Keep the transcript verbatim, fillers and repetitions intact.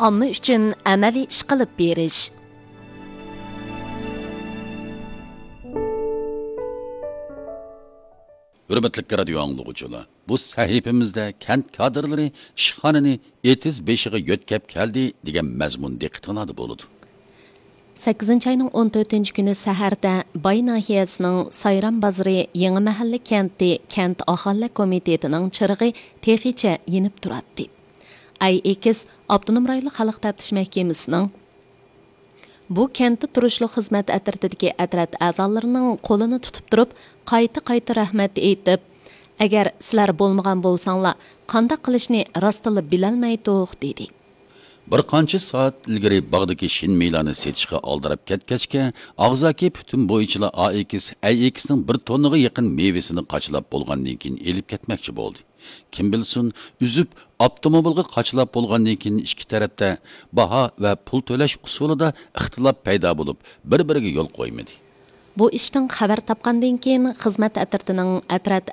ئامما ئۈچۈن ئەمەلىي ئىش قىلىپ بېرىش. ھۆرمەتلىك رادىيو ئاڭلىغۇچىلار، بۇ سەھىپىمىزدە كەنت كادىرلىرى ئىشخانىنى ئېتىز بېشىغا يۆتكەپ كەلدى دېگەن مەزمۇن دىققىتىڭلاردا بولىدۇ. سەككىزىنچى ئاينىڭ ئون تۆتىنچى كۈنى سەھەردە باي ناھىيەسىنىڭ سايرام بازىرى يېڭى مەھەللە كەنتى كەنت ئاھالىلەر كومىتېتىنىڭ چىرىغى تېخىچە يېنىپ تۇراتتى. ئەي ئېكىس ئاپتونوم رايونلۇق خەلق تەپتىش مەھكىمىسىنىڭ بۇ كەنتتە تۇرۇشلۇق خىزمەت ئەترىتىدىكى ئەترەت ئەزالىرىنىڭ قولىنى تۇتۇپ تۇرۇپ، قايتا-قايتا رەھمەت ئېيتىپ، «ئەگەر سىلەر بولمىغان بولساڭلار، قانداق قىلىشنى راستتىنلا بىلەلمەيتتۇق» دېدى. بىر قانچە سائەت ئىلگىرى باغدىكى شىنمېيلارنى سېتىشقا ئالدىراپ كەتكەچكە، ئاغزاكى پۈتۈن بويىچىلار ئائېكس ئەي ئېكسنىڭ بىر توننىغا يېقىن مېۋىسىنى قاچىلاپ بولغاندىن كېيىن ئېلىپ كەتمەكچى بولدى. كىم بىلسۇن، ئۈزۈپ، ئاپتوموبىلغا قاچىلاپ بولغاندىن كېيىن ئىككى تەرەپتە باھا ۋە پۇل تۆلەش ئۇسۇلىدا ئىختىلاپ پەيدا بولۇپ، بىر-بىرىگە يول قويمىدى. بۇ ئىشتىن خەۋەر تاپقاندىن كېيىن، خىزمەت ئەترىتىنىڭ ئەترەت